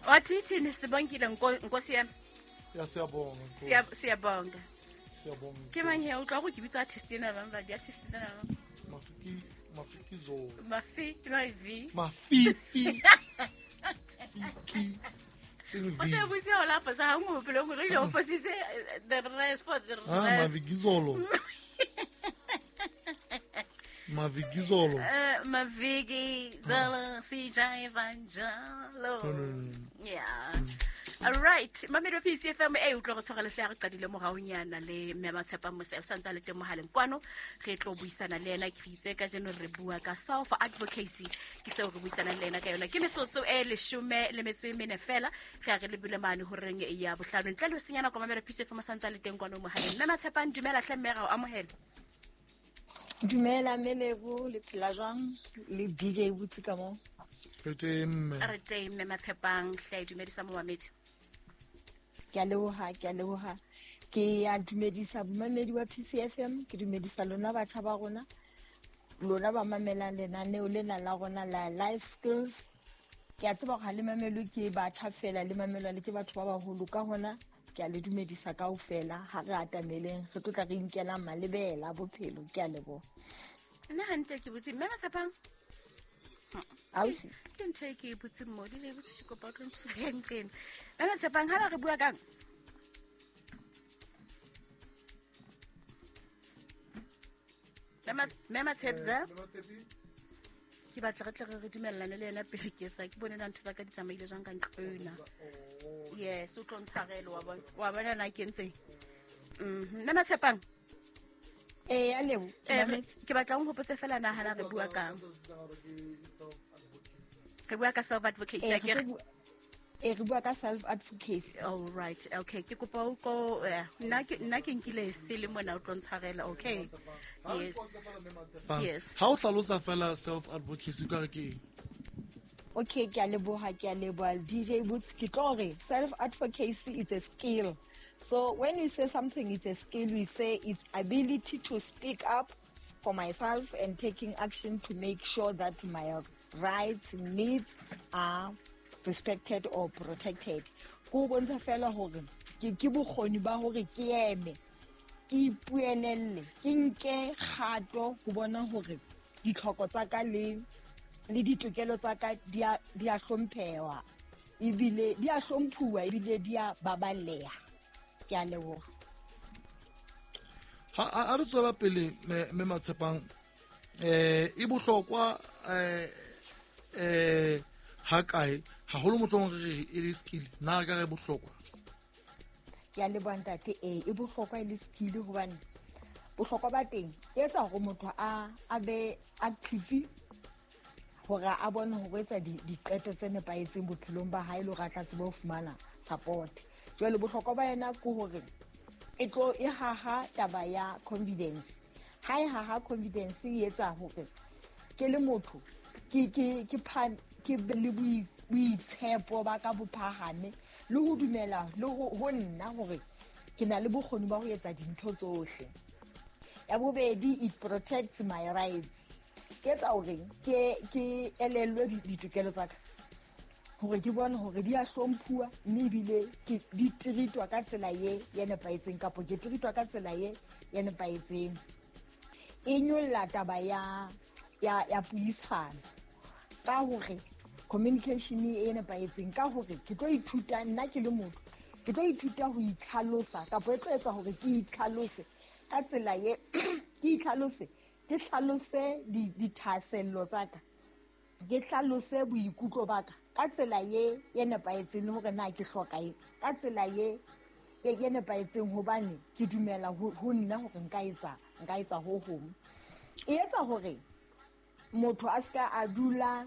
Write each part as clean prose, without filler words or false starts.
Wathi thini sibongile nkosi yami. Ya, siyabonga. Siyabonga. Siyabonga. Ke mang he o tla go ke bitsa artist ena bang ba di-artist tsena bang? Mafiki, Mafiki Zolo. Mafi no v. Mafifi. Fiki. Seng O V. tla botse o la fosa ga nngwe bophelong gore ile o fositse the rest for the Ah, rest. Mavikizolo. Mavikizolo. Maviki Zolo CJ Vanjalo. No, no, no, no. Yeah. All right, mamedi wa PCFM e utlwa go tshwara lehle ya re qadile moraonyana le mme Matshepang Mose o santse a le teng mohaleng kwano, re tlo buisana le ena. Ke itse ka jeno re bua ka self advocacy, ke seo re buisanang le ena ka yona. Ke metsotso e 14 fela re a re lebile mane horeng ya bohlano. Ntle le ho senya nako, mamedi wa PCFM o santse a le teng kwano mohaleng. Mme Matshepang, dumela hle mme, ra o amohela. Dumela Melebo, le phela jwang le DJ Botsi ka mo? Re teng mme. Re teng mme Matshepang, hle dumedisa momamedi. Ke a leboha, ke a leboha. Ke a dumedisa momamedi wa PCFM, ke dumedisa lona batjha ba rona, lona ba mamelang lenaneo lena la rona la Life Skills. Ke a tseba hore ha le mamelwe ke batjha fela, le mamelwa le ke batho ba baholo, ka hona ke a le dumedisa kaofela. Ha re atameleng, re tlo tla re inkela malebela a bophelo. Ke a leboha. Nna hantle ke botse mme Matshepang. Ausi. Ke ntho e ke e butseng mo, DJ Botsi, ke kopa o tlo nthusa ka nqena. Mme Matshepang, ha re bua kang? Mme Matshepsa, ke batla re tle re dumellane le yena pele ke etsa, ke bone na ntho tsa ka di tsamaile jwang ka nqena. Yes, o tlo ntshwarele, wa bona, wa bona na ke entseng. Mme Matshepang. Ee, a lebo. Ke batla o nkgopotse fela na hana re bua kang. Re bua ka self advocacy, Ee, re bua ka self advocacy. All right, okay. Ke kopa o ko, nna ke nkile se le mona, o tlo ntshwarela, okay? Yes. Yes. Ha o hlalosa fela self advocacy ka re ke eng? Okay, ke a leboha, ke a leboha DJ Boots. Ke tlo re self advocacy is a skill. So when you say something it's a skill, we say it's ability to speak up for myself and taking action to make sure that my rights, needs are respected or protected. Ko bontsha fela hore ke bokgoni ba hore ke eme, ke ipuelelle, ke nke kgato ho bona hore ditlhoko tsa ka le ditokelo tsa ka di a hlompheha, ebile di a hlomphuwa, ebile di a baballeha. Ke a leboha. Ha re tswela pele mme Matshepang, e bohlokwa ha kae haholo mohlomong re re e le skill, na re ka re bohlokwa? Ke a leboha ntate. Ee, e bohlokwa e le skill hobane bohlokwa ba teng e etsa hore motho a be active, hore a bone hore o etsa diqeto tse nepahetseng bophelong ba hae le hore a tla tsebe ho fumana support. Jwale bohlokwa ba yona ke hore e tlo e haha taba ya confidence. Ha e haha confidence, e etsa hore ke le motho ke be le boitshepo ba ka bo phahame le ho dumela le ho nna hore ke na le bokgoni ba ho etsa dintho tsohle. Ya bobedi, it protects my rights. Ke etsa hore ke elellwe ditokelo tsa ka, hore ke bone hore di a hlomphuwa mme ebile ke di treatwa ka tsela ye nepahetseng, kapa ke treatwa ka tsela ye nepahetseng. E nyolla taba ya puisano ka hore communication e nepahetseng, ka hore ke tlo ithuta nna ke le motho, ke tlo ithuta ho itlhalosa, kapa e tlo etsa hore ke itlhalose ka tsela ye, ke itlhalose, ke hlalose dithahasello tsa ka, ke hlalose boikutlo ba ka ka tsela ye nepahetseng, le hore na ke hloka eng ka tsela ye nepahetseng, hobane ke dumela ho nna hore nka etsa ho hong. E etsa hore motho a ska a dula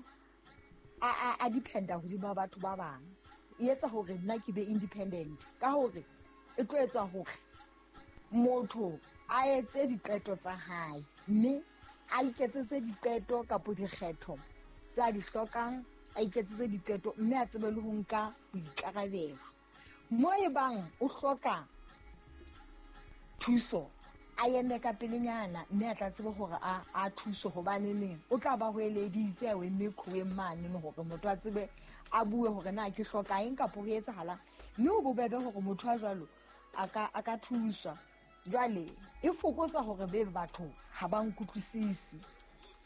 a dependa hodima batho ba bang. E etsa hore nna ke be independent, ka hore e tlo etsa hore motho a etse diqeto tsa hae, mme a iketsetse diqeto kapa dikgetho tsa di hlokang, a iketsetse diqeto mme a tsebe le ho nka boikarabelo. Mo e bang o hloka thuso, a eme ka pelenyana mme a tla tsebe hore a thuse, hobane neng o tla ba hoeleditse a eme qhoweng mane hore motho a tsebe a bue hore na ke hloka eng kapo ho etsahalang. Mme ho bobebe hore motho a jwalo a ka thuswa. Jwale e fokotsa hore be batho ha ba nkutlwisise,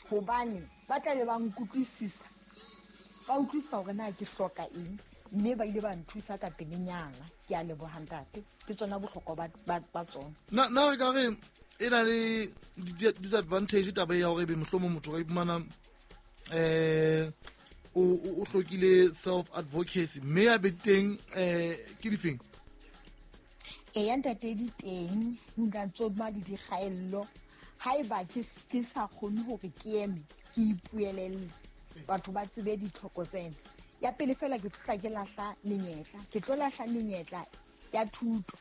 hobane ba tla be ba nkutlwisisa, ba utlwisisa hore na ke hloka eng, mme ba ile ba nthusa ka pelenyana. Ke a leboha ntate, ke tsona bohlokwa ba tsona. Na re ka re e na le disadvantage taba ya hore ebe mohlomong motho ka iphumana o hlokile self advocacy, mme ya be teng ke difeng? Eya ntate, di teng nka tsoma le dikgaello. Haeba ke sa kgone hore ke eme ke ipuelelle, batho ba tsebe ditlhoko tsena. Ya pele fela ke tla ke lahla menyetla, ke tlo lahla menyetla ya thuto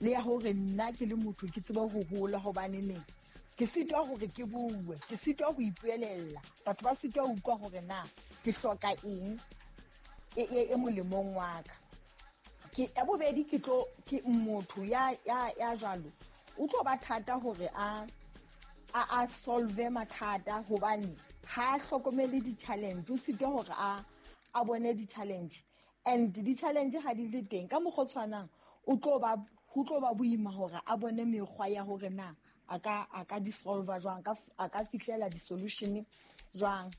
le ya hore nna ke le motho ke tsebe ho hola, hobane neng ke sitwa hore ke bue, ke sitwa ho ipuelella, batho ba sitwa ho utlwa hore na ke hloka eng e molemong wa ka. Ke ya bobedi, ke tlo ke motho ya jwalo o tlo ba thata hore a solve mathata, hobane ha a hlokomele di-challenge, o sitwa hore a bone di-challenge, and di-challenge ha di le teng ka mokgwa o tshwanang ho tlo ba boima hore a bone mekgwa ya hore na a ka di-solve jwang, a ka fihlela di-solution jwang.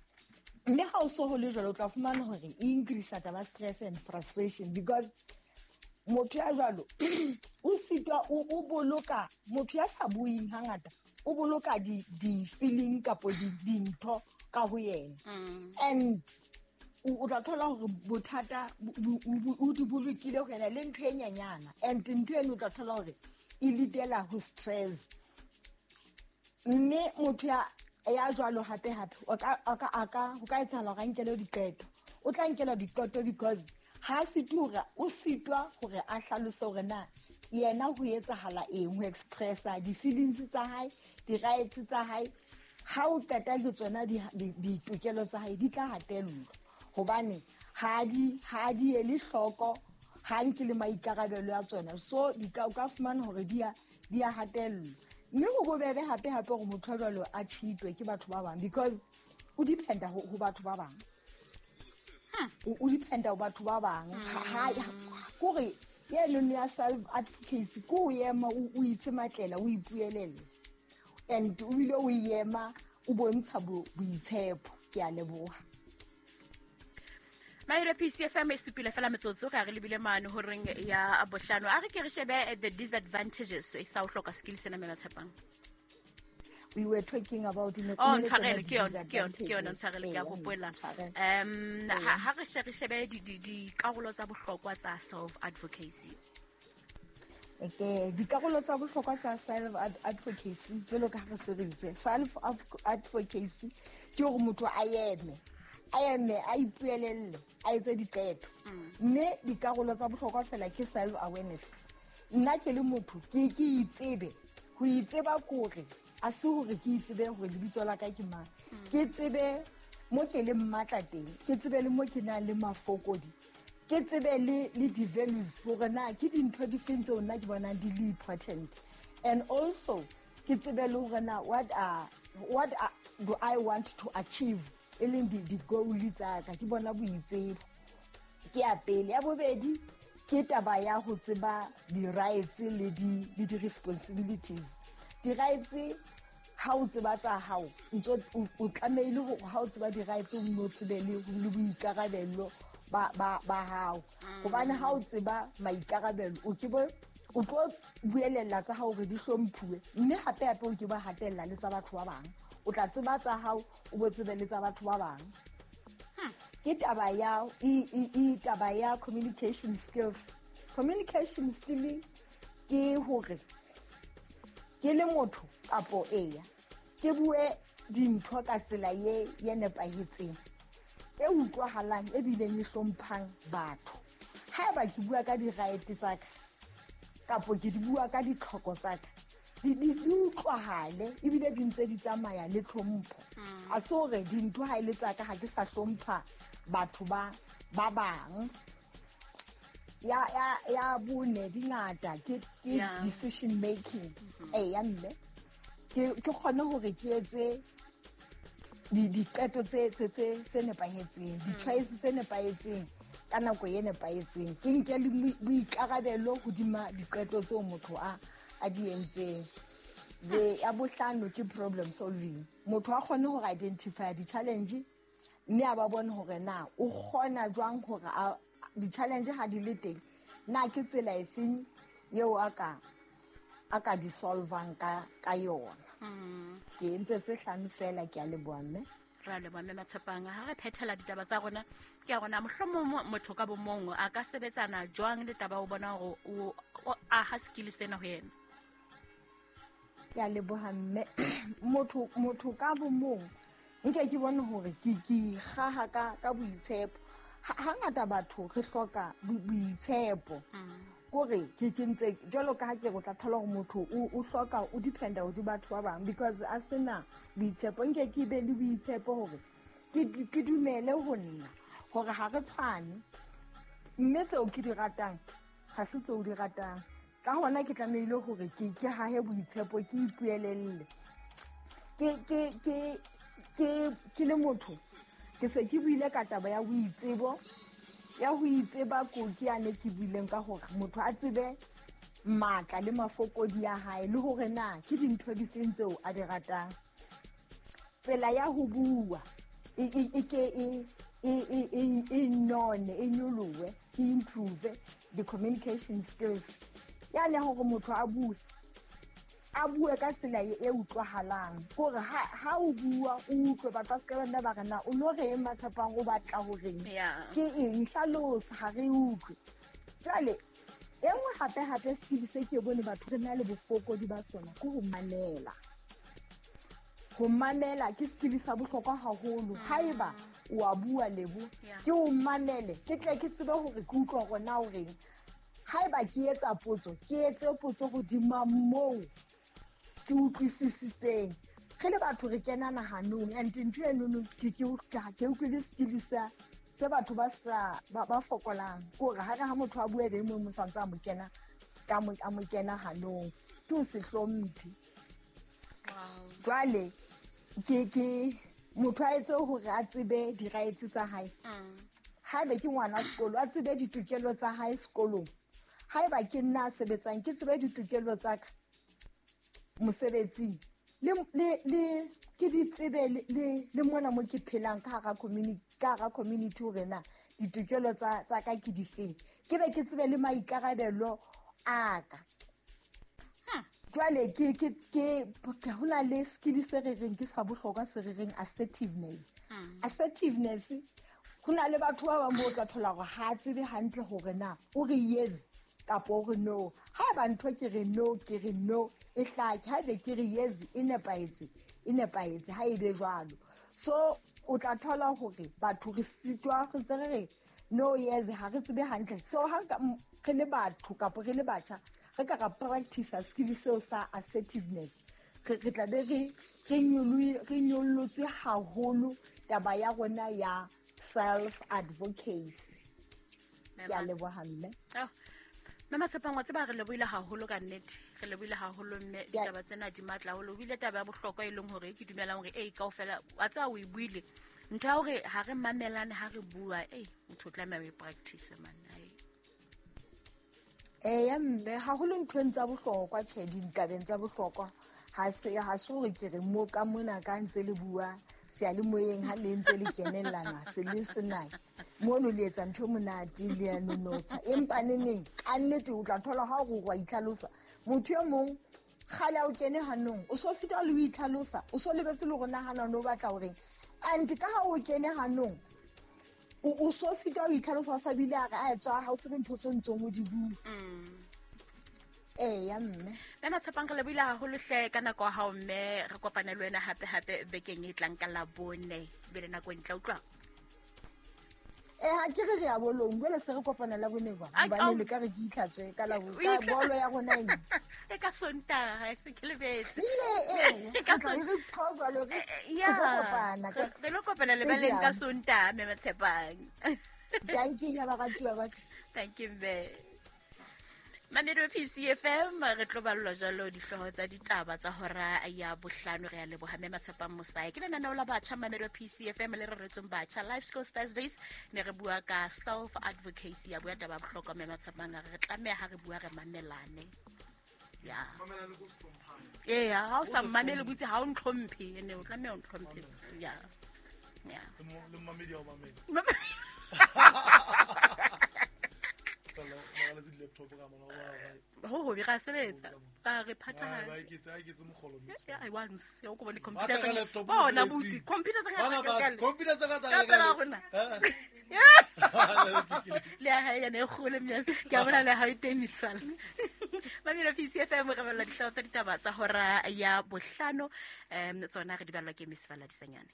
Mme ha o so ho le jwalo, o tla fumana hore e increase taba stress and frustration, because motho ya jwalo o sitwa o boloka, motho ya sa buing hangata o boloka di-feeling kapo dintho ka ho yena. And o tla thola hore bothata o di bolokile ho yena le ntho e nyenyana, and ntho eno o tla thola hore e lead-ela ho stress. Mme motho ya jwalo hape hape o ka ho ka etsahala hore a nkele diqeto, o tla nkela diqeto because ha sitwa o sitwa hore a hlalose hore na yena ho etsahala eng, ho expressa di-feelings tsa hae, di-rights tsa hae. Ha o qeta le tsona ditokelo tsa hae di tla hatellwa, hobane ha di ele hloko, ha nke le maikarabelo ya tsona, so di ka o ka fumana hore di a hatellwa. Mme ho bobebe hape hape hore motho a jwalo a cheatwe ke batho ba bang, because o dependa ho batho ba bang. O dependa ho batho ba bang. Kore yeno ya self advocacy ko ema o itse matlela, o ipuelelle, and o bile o ema o bontsha boitshepo. Ke a leboha. Maire PCFM e supile fela metsotso ka re lebile mane horeng ya bohlano. A re ke re shebe the disadvantages e sa o hloka skill sena me Matshepang. We were talking about in oh ntshwarele ke yona ntshwarele ke a hopola. Ha re shebe dikarolo tsa bohlokwa tsa self advocacy. Okay, dikarolo tsa bohlokwa tsa self advocacy jwalo ka ha re se re itse, self advocacy ke hore motho a eme a ipuelelle, a etse diqeto. Mme dikarolo tsa bohlokwa fela ke self awareness. Nna ke le motho ke itsebe, ho itseba kore a se hore ke itsebe hore lebitso la ka ke mang, ke tsebe mo ke le mmatla teng, ke tsebe le mo ke nang le mafokodi, ke tsebe le di-values hore na ke dintho di feng tseo nna ke bonang di le important, and also ke tsebe le hore na what do I want to achieve, e leng di-goal tsa ka. Ke bona boitsebo ke ya pele. Ya bobedi ke taba ya ho tseba di-rights le di-responsibilities. Di-rights ha o tseba tsa hao, ntso o tlamehile hore ha o tseba di-rights o nno tsebe le boikarabelo ba hao, hobane ha o tseba maikarabelo o ke bo o tlo buelella tsa hao hore di hlomphuwe, mme hape hape o ke ba hatella le tsa batho ba bang. O tla tseba tsa hao, o bo tsebe le tsa batho ba bang. Ke taba ya taba ya communication skills. Communication skill ke hore ke le motho kapo eya ke bue dintho ka tsela ye nepahetseng, e utlwahalang, e bileng e hlomphang batho. Haeba ke bua ka di-right tsa ka kapo ke di bua ka ditlhoko tsa ka, di utlwahale ebile di ntse di tsamaya le tlhompho. A se hore dintho ha e le tsa ka ha ke sa hlompha batho ba bang. Ya bone di ngata ke decision making. Ya mme ke kgone hore ke etse diqeto tse nepahetseng, di-choice tse nepahetseng ka nako e nepahetseng. Ke nke le boikarabelo hodima diqeto tseo motho a di entseng. Le ya bohlano ke problem solving. Motho a kgone hore identify di-challenge mme a ba bone hore na o kgona jwang hore di-challenge ha di le teng, na ke tsela efeng eo a ka di solvang ka yona. Ke entse tse hlano fela, ke a leboha mme. Ra leboha mme Matshepang. Ha re phethela ditaba tsa rona, ke a rona mohlomong motho ka bomong a ka sebetsana jwang le taba o bona hore o aha skill sena ho yena? Ke a leboha mme. Motho ka bomong nke ke bone hore ke kgaha ka boitshepo. Hangata batho re hloka boitshepo. Kore ke ntse jwalo ka ha ke re o tla thola hore motho o hloka o dependa ho batho ba bang because a sena boitshepo. Nke ke be le boitshepo hore ke dumele ho nna hore ha re tshwane, mme tseo ke di ratang ha se tseo di ratang. Ka hona ke tlamehile hore ke hahe boitshepo, ke ipuelelle. Ke le motho ke se ke buile ka taba ya boitsebo, ya ho itseba ko ke yane ke buileng ka hore motho a tsebe matla le mafokodi ya hae le hore na ke dintho di feng tseo a di ratang. Tsela ya ho bua e ke e none, e nyolohe, e improve the communication skills. Yane hore motho a bue ka tsela e utlwahalang, hore ha o bua o utlwe batho ba se ka nna ba re na o no re eng Matshepang o batla horeng, ke eng, hlalosa, ha re utlwe. Jwale e nngwe hape skill se ke bone batho re na le bofokodi ba sona ke ho mamela. Ho mamela ke skill sa bohlokwa haholo. Haeba o a bua Lebo, ke o mamele, ke tle ke tsebe hore ke utlwa hore na o reng. Haeba ke etsa potso, ke etse potso hodima moo ke utlwisisitseng. Re le batho re kena nahanong, and ntho enono ke utlwile skill se batho ba sa ba fokolang. Kore ha re ha motho a bua be mong mo santse a mo kena ka a mo kena hanong, ke o se hlomphe. Jwale ke motho a etse hore a tsebe di-rights tsa hae. Haeba ke ngwana sekolo, a tsebe ditokelo tsa hae sekolong. Haeba ke nna a sebetsang, ke tsebe ditokelo tsa ka mosebetsing, le ke di tsebe le mona mo ke phelang ka hara community, ka hara community hore na ditokelo tsa ka ke difeng, ke be ke tsebe le maikarabelo a ka. Jwale ke hona le skill se re reng ke sa bohlokwa se re reng assertiveness. Assertiveness, hona le batho ba bang bo tla thola hore ha tsebe hantle hore na o re yes kapa o re no. Haeba ntho ke re no, ke re no, e hlake. Haebe ke re yes, e nepahetse, ha e be jwalo. So o tla thola hore batho re sitwa re ntse re re no, yes, ha re tsebe hantle. So ha re le batho kapa re le batjha, re ka ra practice skill seo sa assertiveness, re tla be re nyollotse haholo taba ya rona ya self advocacy. Ke a leboha mme. Mme Matshepang, wa tseba re lebohile haholo ka nnete. Re lebohile haholo mme, ditaba tsena di matla haholo. O bile taba ya bohlokwa e leng hore ke dumelang hore kaofela wa tseba o e buile. Ntho ya hore ha re mamelane ha re bua, motho o tlameha o e practice man. Eya mme, haholo nthong tsa bohlokwa, tjhe, ditabeng tsa bohlokwa. Ha se hore ke re mo ka mona ka ntse le bua seyalemoyeng ha le ntse le kenellana se le sena mono le etsa ntho monate le ya nonotsha. Empa neneng ka nnete o tla thola ha o wa itlhalosa, motho e mong kgale a o kene hanong, o so sitwa le ho itlhalosa, o so lebetse le hore nahana o batla horeng. And ka ha o kene hanong, o so sitwa ho itlhalosa, sa bile a re a tswa ha o tsebe ntho tse ntsong o di bua. Eya mme. Mme Matshepang, re lebohile haholo hle ka nako ya hao mme. Re kopane le wena hape bekeng e tlang ka Labone. Be le nako e ntle, utlwa. Ha ke re re ya bolong, jwale se re kopana Labone kwa. Hobane le ka re ke itlhatswe ka Labone, ka bolo ya rona ena. E ka Sontaha, se ke lebetse. Ka Sontaha re lo kopana lebaleng ka Sontaha, mme Matshepang. Thank Ke ya baratuwa ba ka. Thank you, mme. Mamedi wa PCFM, re tlo ballwa jalo dihlooho tsa ditaba tsa hora ya bohlano. Re a leboha mme Matshepang Mosae. Ke lenaneo la batjha, mamedi wa PCFM, le reretsweng batjha, Life Skills Thursdays. Ne re bua ka self advocacy, ya bua taba ya bohlokwa mme Matshepang a re re tlameha ha re bua re mamelane. Ya. Mamelane ko se hlomphane. Ee, ha o sa mmamele botse ha o ntlhomphe, ene o tlameha o ntlhomphe. Ya. Ya. Le mmamedi ya o mamela. Fela, ba raletse di-laptop ka mona, ba ba- Ho hobe ra sebetsa. Ra re ba phathahane. eketse, a eketse mogolo mme. Yeah, I once. Ya o ko bone Ba computer tla ka tsa laptop bona mosebetsing. butse computer tsa Bana ngata ba- ka le. computer tsa ka tsa Ka ka pela le- rona. Eh. Le ya hae yana e kgolo mme ke a bona le ha e teng misfala. Mamelo PCFM, re balla dihlooho tsa ditaba tsa hora ya bohlano. Tsona re di ballwa ke misfala disanyane.